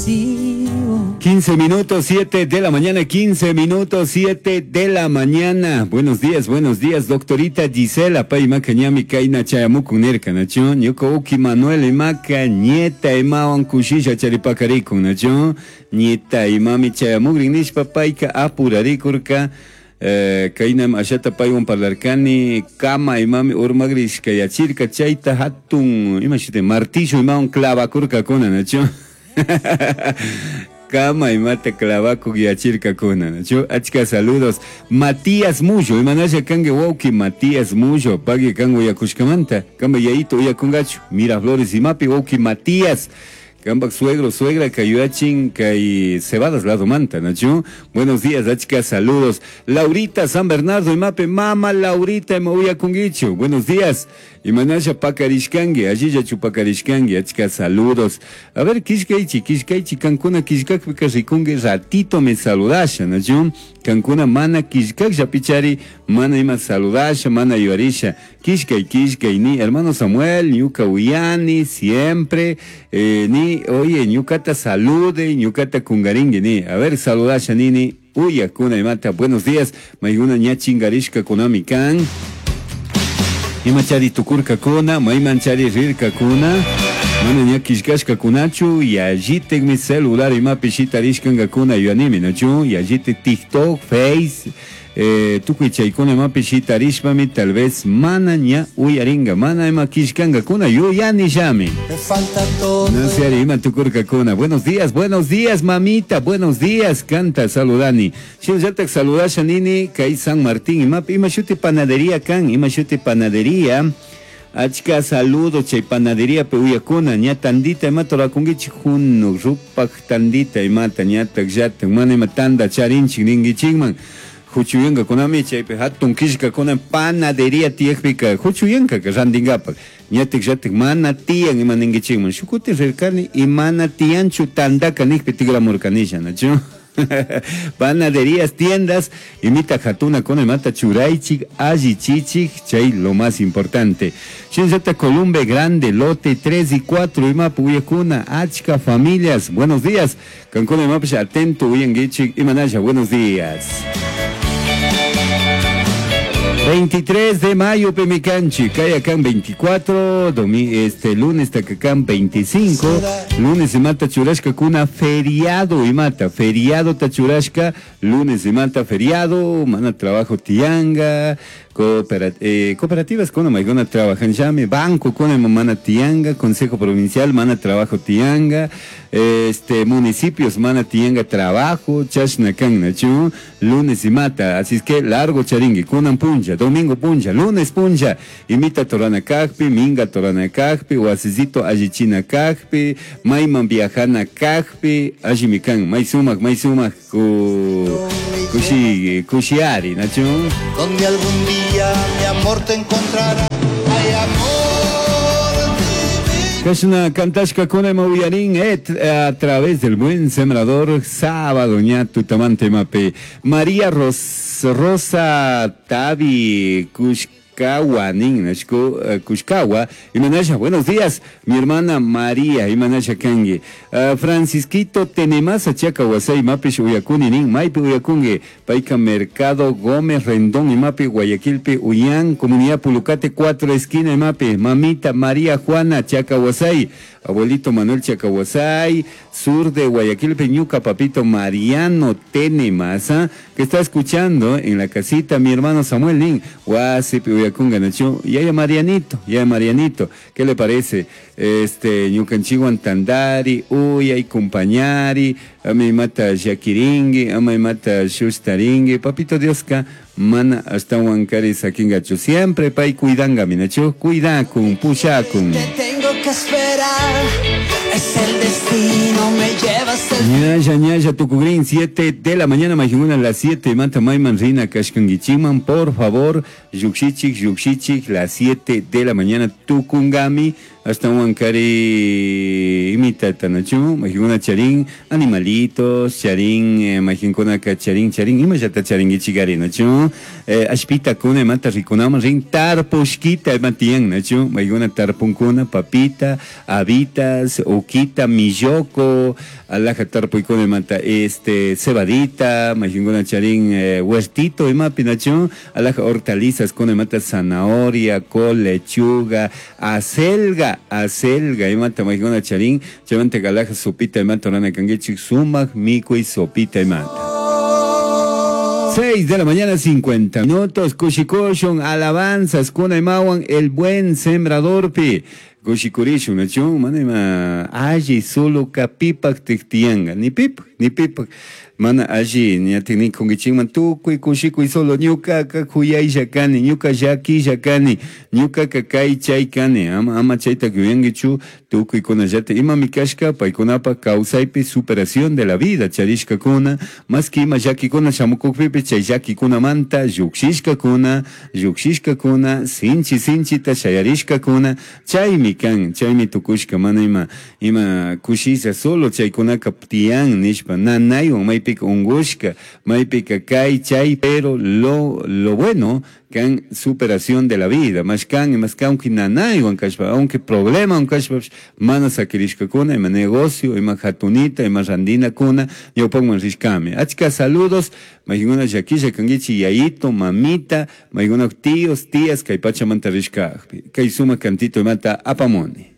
recibo. 15 minutos 7 de la mañana, 15 minutos 7 de la mañana. Buenos días, doctorita Gisela Paimaka ñami kayna chayamukun nirka, nachu? Ñuka uki Manuel imaka nieta imawan kushisha charipakarikun, nachu? Nieta imami chayamukrin nishpa payka apurarikurka. Kaynam ashata paywan parlarkani, kama imami urmagrishka yachirka chayta hatun, ima shuti, martillo imawan clavakurkakuna, nachu? Kama imata clavakuk yachirkakuna, nachu? Achka saludos. Matías Mullo, imanasha kanki wawki Matías Mullo, pagui kan uyakushkamanta, kamba yayito uyakungachu, Miraflores imapi wawki Matías. Kambak suegro, suegra, kayuachin, kay cebadas lado manta, nachu? Buenos días, achka saludos. Laurita San Bernardo, imape, mama Laurita, ima uyakungichu. Buenos días. Imanasha pakarishkangi, allilla chupakarishkangi, achka saludos. A ver, kishkaichi, kishkaichi, kankuna kishkakpika rikungi, ratito me saludasha, nachu? Kankuna mana kishkak pichari, mana ima saludasha, mana yuarisha. Kishkay, kishkay, ni hermano Samuel, ñuka uyani, siempre, ni, oye, ñukata salude, ñukata kungaringi, ni. A ver, saludasha, nini, uya, kuna imata, buenos días, maiguna ña chingarishka kunami kan. Imachari tukurka kuna, maimanchari rirka kuna, mana ña kishkashka kunachu, yallitek mi celular imapi shitarishkanka kuna yuanimi, nachu, yallitek TikTok, Face, tukuy chaykuna imapi shitarishpami, tal vez mana ña uyaringa, mana ima kishkanka kuna, yuyani llami. Me falta todo. No sé, ari, ima tukurka kuna. Buenos días, buenos días, mamita, buenos días, canta, saludani. Shinallatak saludasha nini, kay San Martín, imapi, ima shuti panadería kan, ima shuti panadería. Achka saludo chay panadería pe uyakuna, ña tandita ima torakungichik junu, rupak tandita imata, ñatak llatak, mana ima tanda charinchik ningichikman. Huchuyanka kunami chaypi hatun kishka kunan panadería tiyakpika huchuyanka ka randinkapak. Ñatik llatik mana tiyan ima ningichikman. Shukuti rirkani imana tiyanchu tandaka nikpi tigramurkanisha, nachu? Panaderías, tiendas, imita hatuna con imata churaichik, allichichik, chay lo más importante. Shinzata Columbe Grande, lote 3 y 4, imapu uyakuna, achka familias, buenos días. Cancún imapu atento, uyangichik, imanasha, buenos días. 23 de mayo, Pemicanchi, Cayacán 24, lunes Tacacán 25, lunes y mata churashka kuna feriado y mata, feriado tachurashka, lunes y mata feriado, mana trabajo tianga, cooperativas kuna maigona trabajan llame, banco kuna mana tianga, consejo provincial mana trabajo tianga, municipios mana tianga trabajo, chashnakan nachu, lunes y mata, así es que largo charingui, kunan puncha, domingo puncha, lunes puncha, imita torana kajpi, minga torana kajpi, wasisito allichina kajpi, mayman viajana kajpi, allimikan, may sumak, may sumak, kushi, kushiari, nachu. Donde algún día mi amor te encontrará, ay amor divino. Kashna kantashka kuna ima uyarin et a través del buen sembrador, sábado ñatu tamante mape. María Rosa Tabi Kushkawa, nin, nashku Kushkawa, imanasha, buenos días, mi hermana María, imanasha kangi. Francisquito Tenemasa Chaca Huasay, mapish uyakuni, nin, maipi uyakungi, Paica Mercado Gómez Rendón, imapi Guayaquilpi Uyán, Comunidad Pulucate, 4 esquina, imapi, mamita María Juana Chaca Huasay, abuelito Manuel Chacahuasay, sur de Guayaquil, Peñuca, papito Mariano Tenemasa, que está escuchando en la casita, mi hermano Samuel Nin, Huasipi Uyakunga Nachu, yaya Marianito, yaya Marianito, ¿qué le parece? Ñukanchiwan Tandari, Uyay, Compañari, a mi mata Yaquiringui, a mi mata Shustaringui, papito Dioska, mana hasta Huancari Saquingachu, siempre pay cuidanga, minachu, cuidacun, pushacun. Te tengo que esperar, es el destino, me llevas el Ñaya, ñaya, Tucugrín, 7 de la mañana, Majinguna, a las 7, Mata Mayman, Rina, Kashkangichiman, por favor, Yukshichik, Yukshichik, las 7 de la mañana, Tucungami. Ashtahuancari imitata nachu maijuna charin animalitos, charin maijinkunaka charin charin imallata charinguichigari nachu ashpitakuna imata rikunaman rin tarpushkita ima tiyan nachu maijuna tarpunkuna papita, habitas, uquita, milloko, alaja tarpuykuna imata este cebadita, maijinguna charin huertito imapi nachu alaja hortalizas kuna imata zanahoria, col, lechuga, acelga, acelga imata maijinguna charin chaymanta alaja sopita imata rurana kankichik sumak mikuy sopita imata. 6 de la mañana, 50 minutos. Kushikushun, alabanzas, kuna imawan, el buen sembradorpi. Kushikurishun, nachu, mana ima alli solo pipak tiktiyanga, ni pipak, ni pipak. Mana alli, ñatik nikunkichikman tukuy kushikuy solo ñukaka kuyaylla kani, ñuka llakilla kani, ñukaka kay chay kani, ama ama chayta yuyankichu tukuykunallata imami kashka paykunapa kawsaypi superación de la vida charishkakuna, más que ima llakikuna shamukukpipish chay llakikunamanta llukshishkakuna, llukshishkakuna, sinchi sinchita shayarishkakuna, chaymi kan, chaymi tukushka mana ima ima kushilla solo chaykunaka tiyan nishpa nanaywan maypika ungushka, maypika kay chay, pero lo bueno kan superación de la vida, más kan, más kan, aunque nanaywan kashpa, aunque problema kashpa, mana sakirishkakuna, ima negocio, ima hatunita, ima randinakuna, ñawpakman rishkami. Achka saludos, maykuna llakilla kankichik yayito, mamita, maykuna tíos, tías, kay pachamanta rishkakpi. Kay sumak cantito imata apamuni.